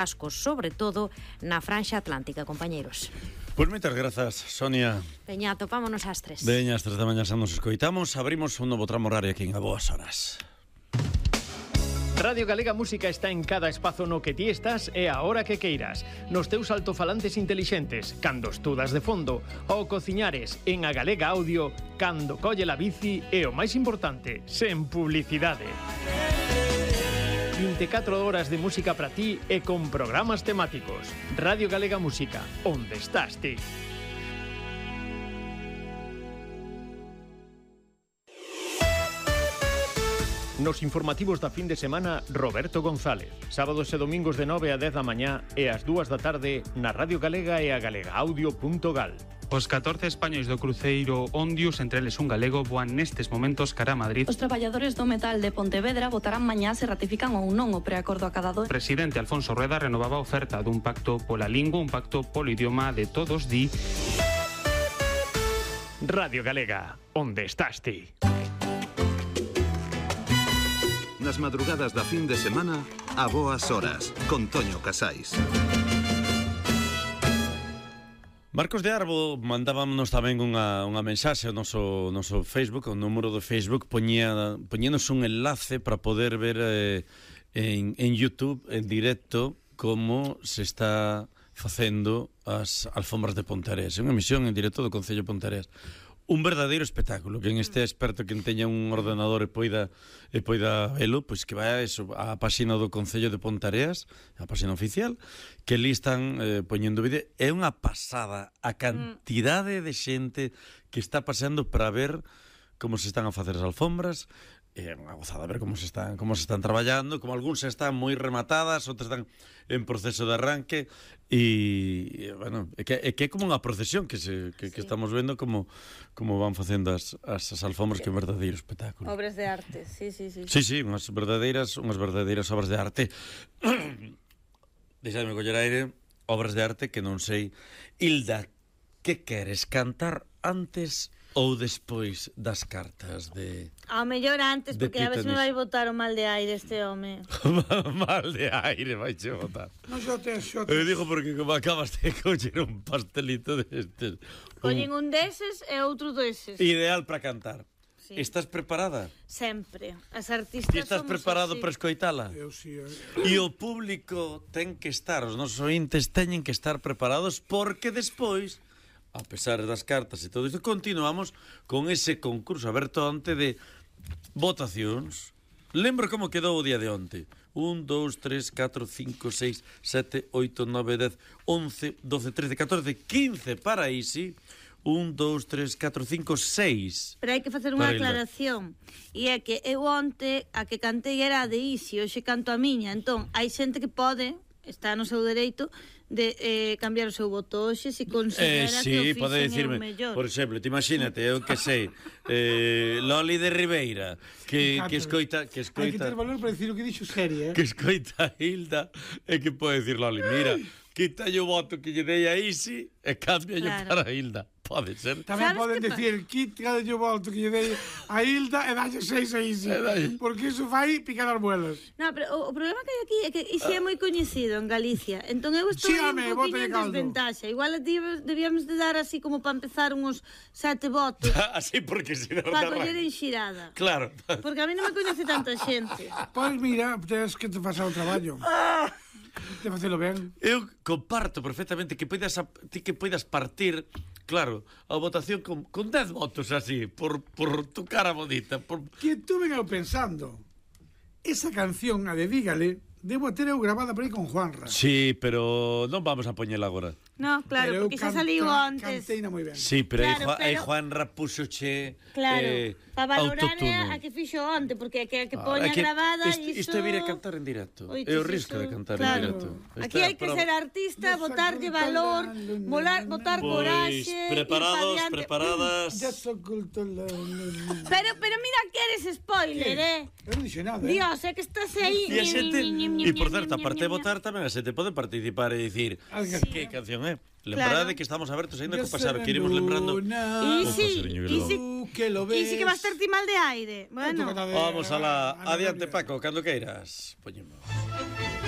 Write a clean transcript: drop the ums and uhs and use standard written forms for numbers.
cascos, sobre todo na franxa atlántica, compañeiros. Pois moitas grazas, Sonia. Veña, topámonos ás 3. Veña, ás 3 da mañá xa nos escoitamos. Abrimos un novo tramo horario aquí en A Boas Horas. Radio Galega Música está en cada espazo no que ti estás e a hora que queiras. Nos teus altofalantes intelixentes, cando estudas de fondo, ou cociñares en A Galega Audio, cando colle la bici e o máis importante, sen publicidade. 24 horas de música para ti e con programas temáticos. Radio Galega Música, onde estás ti? Nos informativos da fin de semana, Roberto González. Sábados e domingos de 9 a 10 da mañá e ás 2 da tarde na Radio Galega e a galegaaudio.gal. Os 14 españois do cruceiro Ondius, entre eles un galego, voan nestes momentos cara a Madrid. Os traballadores do metal de Pontevedra votarán mañá se ratifican ou non o preacordo acadado. O presidente Alfonso Rueda renovaba a oferta dun pacto pola lingua, un pacto polo idioma de todos, di... Radio Galega, onde estás ti? Nas madrugadas da fin de semana, A Boas Horas, con Toño Casais. Marcos de Arbo mandábamos tamén unha mensaxe ao noso Facebook, ao número do Facebook, poñénos un enlace para poder ver en YouTube, en directo, como se está facendo as alfombras de Ponteareas. É unha emisión en directo do Concello de Ponteareas. Un verdadeiro espectáculo. Quen este experto, quen teña un ordenador e poida velo, pois que vai a páxina do Concello de Ponteareas, a páxina oficial, que ali están poñendo vídeo. É unha pasada a cantidade de xente que está paseando para ver como se están a facer as alfombras. É unha gozada ver como se están traballando, como algúns están moi rematadas, outras están en proceso de arranque e bueno, é que é como unha procesión que estamos vendo como van facendo as alfombras, que é un verdadeiro espectáculo. Obras de arte, sí. Sí, unhas verdadeiras obras de arte. Deixadme coller aire. Obras de arte que non sei. Hilda, que queres, cantar antes ou despois das cartas de... Ao mellor antes, porque a veces me vai botar o mal de aire este home. Mal de aire vai che botar. Non xotes. Eu digo porque como acabas de coller un pastelito destes. Collen un deses e outro deses. Ideal para cantar. Sí. Estás preparada? Sempre. As artistas somos estás preparado así para escoitala? Eu sí. E o público ten que estar, os nosos ointes teñen que estar preparados, porque despois, a pesar das cartas e todo isto, continuamos con ese concurso aberto onte de votacións. Lembro como quedou o día de onte. 1, 2, 3, 4, 5, 6, 7, 8, 9, 10, 11, 12, 13, 14, 15 para Isi. 1, 2, 3, 4, 5, 6. Pero hai que facer unha aclaración. E é que eu onte a que cantei era a de Isi, hoxe canto a miña. Entón, hai xente que pode, está no seu dereito, de cambiar o seu voto hoxe se considera que o fixen é o mellor. Por exemplo, te imagínate, eu que sei, Loli de Ribeira, que escoita... Hai que ter valor para decir o que dixo serie, que escoita a Hilda e que pode decir Loli, mira, quita o voto que lle dei a Isi e cambia para a Hilda. Pode ser. Tamén poden decir, quita o voto que lle dei a Hilda e dalle 6 a Isi, porque iso vai picar as muelas. No, pero o problema que hai aquí é que Isi é moi coñecido en Galicia, entón eu estou un poquinho en desventaxa. Igual debíamos de dar así como para empezar uns 7 votos. Así porque se non para coller en xirada. Claro. Porque a mí non me coñece tanta xente. Pois mira, tens que te pasar o traballo. De facelo ben. Eu comparto perfectamente que poidas partir, claro, a votación con 10 votos así, por tu cara bonita. Que tú vengo pensando, esa canción, a de Dígale, debo ter eu grabada por aí con Juanra. Sí, pero non vamos a poñela agora. No, claro, porque xa saliu antes. Canteina moi ben. Sí, pero aí Juanra puxoche para valorar a que fixo onte, porque que poña grabada isto é vir a cantar en directo. É o risco de cantar en directo. Aquí hai que ser artista, botarlle valor, botar coraxe. Preparadas. Pero mira que eres spoiler, Eu non dixo nada. Dios, é que estás aí. E por certo, aparte de votar, tamén a xente pode participar e dicir que canción é. Lembrade que estamos abertos ainda co pasar, que iremos lembrando. E si que vas ter ti mal de aire. Bueno. Vamos a la adiante, Paco, cando queiras. Poñemos.